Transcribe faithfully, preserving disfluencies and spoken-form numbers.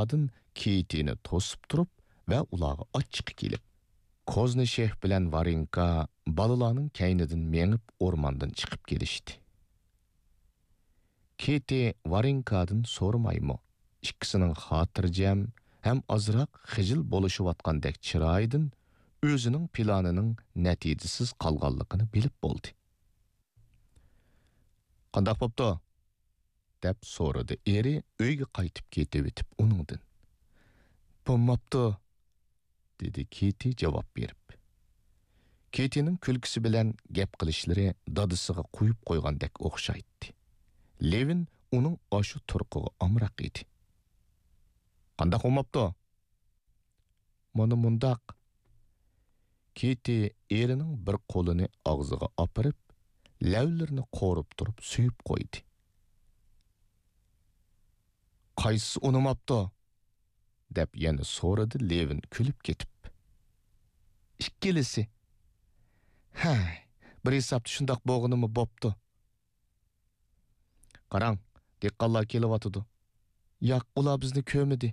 ئارقىدىن كېتىنى توسۇپ تۇرۇپ ۋە ئۇلارغا ئاچچىقى كېلىپ، كوزنىشېف بىلەن ۋارېنكا بالىلارنىڭ كەينىدىن مېڭىپ ئورماندىن چىقىپ كېلىشتى. كېتى ۋارېنكادىن سورىمايمۇ، ئىككىسىنىڭ خاتىرجەم ھەم ئازراق خىجىل بولۇشۇۋاتقاندەك چىرايىدىن ئۆزىنىڭ پىلانىنىڭ نەتىجىسىز قالغانلىقىنى بىلىپ بولدى. «قانداق بوپتۇ؟» دەپ سورىدى ئېرى ئۆيگە قايتىپ كېتىۋېتىپ ئۇنىڭدىن. «بولماپتۇ»، دېدى كېتى جاۋاب بېرىپ. كېتىنىڭ كۈلكىسى بىلەن گەپ قىلىشلىرى دادىسىغا قويۇپ قويغاندەك ئوخشايتتى. لېۋىن ئۇنىڭ ئاشۇ تۇرقىغا ئامراق ئىدى. «قانداق بولماپتۇ؟» «مانا مۇنداق.» كېتى ئېرىنىڭ بىر قولىنى ئاغزىغا ئاپىرىپ، لەۋلىرىنى قورۇپ تۇرۇپ سۆيۈپ قويدى. «قايسىسى ئۇنىماپتۇ؟» دەپ يەنە سورىدى لېۋىن كۈلۈپ كېتىپ. «ئىككىلىسى.» «ھەي، بىر ھېسابتا شۇنداق بولغىنىمۇ بوپتۇ.» «قاراڭ، دېھقانلار كېلىۋاتىدۇ.» «ياق، ئۇلار بىزنى كۆرمىدى.»